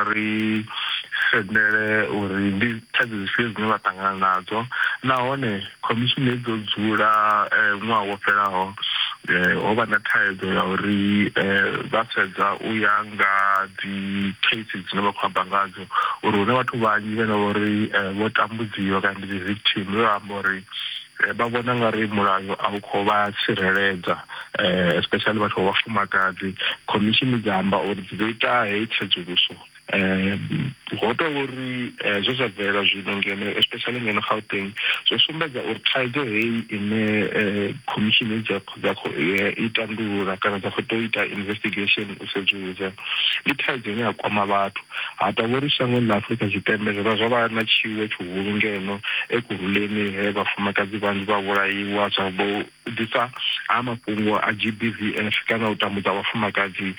Vha ri sendele uri ndi thaidzo dzifhio dzine vha ṱangana nadzo, nahone khomishini hedzi dzo dzula ṅwaha wo fhelaho ho vha na thaidzo ya uri vha sedza u ya nga dzi case dzine vha khou amba ngadzo uri hu na vhathu vhanzhi vhane vha uri vho tambudziwa kana ndi dzi victim vhe vha amba uri vha vhona nga ri mulayo a u khou vha tsireledza especially vhathu vha vhafumakadzi. Khomishini dza amba uri dzi ḓo ita heyi tsedzuluso ho tou uri zwe zwa bvelela zwino ngeno especially ngeno Gauteng zwo sumbedza uri thaidzo heyi ine khomishini dza dza khou i tandulula kana dza khou tou ita investigation u sedzulusa ndi thaidzo ine ya kwama vhathu. Ha tou vha uri shangoni ḽa Afrika Tshipembe zwo vha zwo vha na tshiwo tshihulu ngeno Ekurhuleni he vhafumakadzi vhanzhi vha vhulaiwa zwa vho ḓisa ha mafhungo a GBVF kana u tambudza vhafumakadzi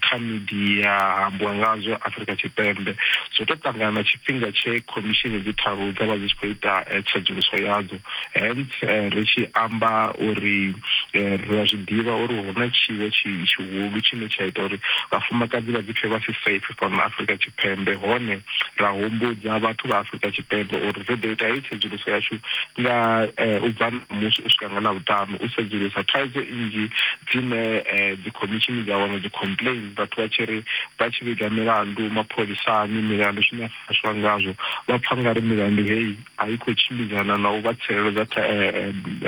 kha midia ha ambiwa ngazwo Afrika Tshipembe. Zwo tou ṱangana na tshifhinga tshe khomishini dzi tharu dza vha dzi tshi khou ita tsedzuluso yadzo. Hence ri tshi amba uri ri a zwi ḓivha uri hu na tshiwo tshihulu tshine tsha ita uri vhafumakadzi vha ḓipfe vha si safe fhano Afrika Tshipembe, hone ra humbudza vhathu vha Afrika Tshipembe uri ri ḓo ita heyi tsedzuluso yashu nga u bva ṋamusi u swika nga Ḽavhuṱanu u sedzulusa thaidzo nnzhi dzine dzikhomishini dza wana dzi complain vhathu vha tshi ri vha tshi vhiga milandu mapholisani milandu zwine ya farisiwa ngazwo vha pfa nga ri milandu heyi a i khou tshimbidzana na u vha tsireledza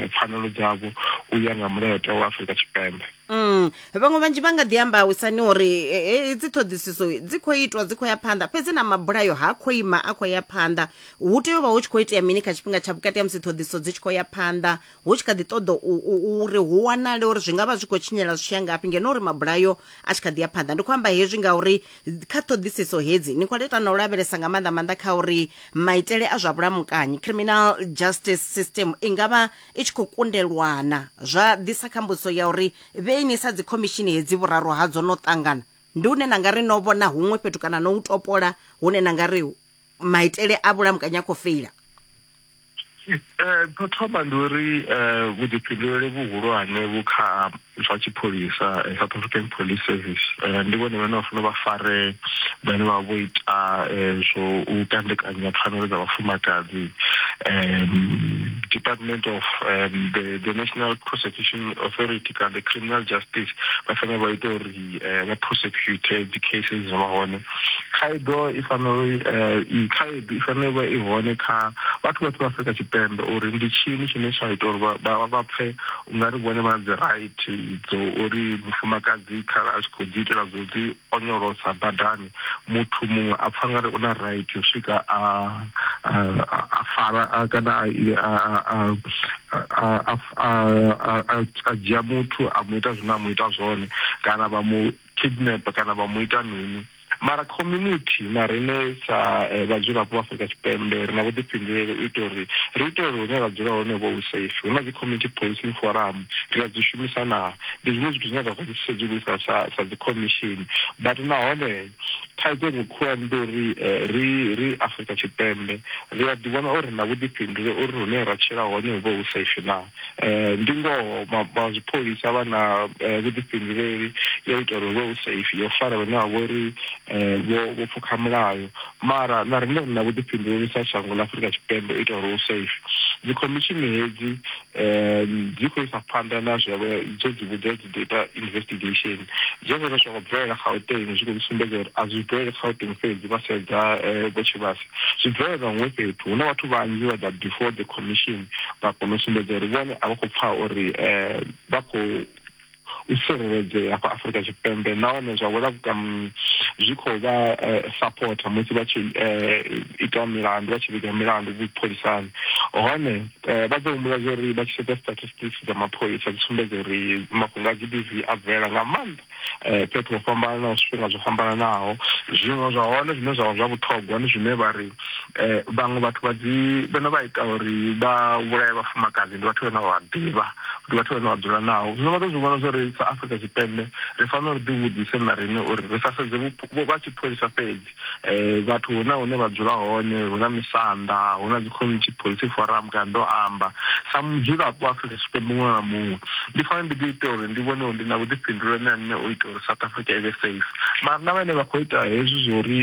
pfanelo dzavho u ya nga mulayotewa wa Afrika Tshipembe. Vhaṅwe vhanzhi vha nga ḓi amba wisani uri hedzi ṱhoḓisiso dzi khou itwa dzi khou ya phanḓa fhedzi na mabulayo ha khou ima a khou ya phanḓa. Hu tea u vha hu tshi khou itea mini kha tshifhinga tsha vhukati ha musi ṱhoḓisiso dzi tshi khou ya phanḓa hu tshi kha ḓi ṱoḓa uri hu wanale uri zwi nga vha zwi khou tshinyela zwi tshi ya ngafhi ngeno uri mabulayo a tshi kha ḓi ya phanḓa. Ndi khou amba hezwi ngauri kha ṱhoḓisiso hedzi ni khou ita na u lavhelesa nga maanḓa maanḓa kha uri maitele a zwa vhulamukanyi criminal justice system i nga vha i tshi khou kundelwana zwa ḓisa kha mbudziso ya uri vheini sa dzikhomishini hedzi vhuraru hadzo no ṱangana ndi hune na nga ri no vhona huṅwe fhethu kana no u topola hune na nga ri maitele a vhulamukanyi a khou feila. Tsho thoma ndi uri vhuḓifhinduleli vhuhulwane vhu kha zwa tshipholisa South African Police Service, ndi vhone vhane vha fanela vha fare vhane vha vho ita zwo u kandekanya pfanelo dza vhafumakadzi. Department of the National Prosecution Authority kana the Criminal Justice vha fanela vha ita uri vha prosecute dzi cases dzo vha hone. Khaedo i fanela i khaedu i fanela u vha i hone kha vhathu vhoṱhe vha Afrika Tshipembe uri ndi tshini tshine tsha ita uri vha vha pfe ungari vhone vha na dzi right dzo uri mufumakadzi kharali a tshi khou ḓi itela zwo dzi onyolosa badani muthu muṅwe a pfa ngari u na right u swika a a fara kana a a a a dzhia muthu a mu ita zwine a mu ita zwone kana vha mu kidnap kana vha mu ita mini. Mara community na riṋe sa vhadzulapo vha Afrika Tshipembe ri na vhuḓifhinduleli u itela uri ri ite uri hune ra dzula hone hu vhe hu safe. Hu na dzi community policing forum ri a dzi shumisa naa? Ndi zwiṅwe zwithu zwine ra khou zwi sedzulusa sa sa dzi khomishini but nahone thaidzo iṅwe khulwane ndi uri ri ri Afrika Tshipembe ri a ḓi vhona uri ri na vhuḓifhinduleli uri hune ra tshila hone hu vhe hu safe naa. Ndi ngoho vha zwipholisa vha na vhuḓifhinduleli ya u ita uri hu vhe hu safe, ya u fara vhane vha vha uri vho pfukha mulayo mara na riṋe ri na vhuḓifhinduleli sa shango ḽa Afrika Tshipembe u ita uri hu safe. Dzikhomishini hedzi dzi khou isa phanḓa na zwe dzo dzi vhudza dzi ḓo ita investigation, zwezwo zwa khou bvelela Gauteng zwi khou sumbedza uri a zwi bveleli Gauteng fhedzi vha sedza Vho Tshivhase zwi bvelela huṅwe fhethu. Hu na vhathu vhanzhi vha ḓa before the commission vha kona u sumbedza uri vhone a vha khou pfha uri vha khou u tsireledzea hafha Afrika Tshipembe nahone zwa wela zwi khou vha sapotha musi vha tshi ita milandu vha tshi vhiga milandu vhupholisani. Hone vha ḓo humbula zwa uri vha tshi sedza statistics dza mapholisa dzi sumbedza uri mafhungo a G_B_V a bvelela nga maanḓa fhethu ho fhambananaho zwifhinga zwo fhambananaho. Zwiṅwe zwa hone zwine zwa vha zwa vhuṱhogwa ndi zwine vha ri vhaṅwe vhathu vha dzi vhane vha ita uri vha vhulaye vhafumakadzi ndi vhathu vhane vha vha ḓivha, ndi vhathu vhane vha dzula navho. Zwino vha ḓo zwi vhona zwa uri sa Afrika Tshipembe ri fanela uri ḓi vhudzise na riṋe uri ri sa sedze vha tshipholisa fhedzi Vhathu hu na hune vha dzula hone, hu na misanda, hu na dzi community policing forum kana ndo amba sa mudzulapo wa Afrika Tshipembe muṅwe na muṅwe ndi fanela ndi ḓi ita uri ndi vhone uri ndi na vhuḓifhinduleli na nṋe u ita uri South Africa i vhe safe. Mara na vhane vha khou ita hezwi zwo uri.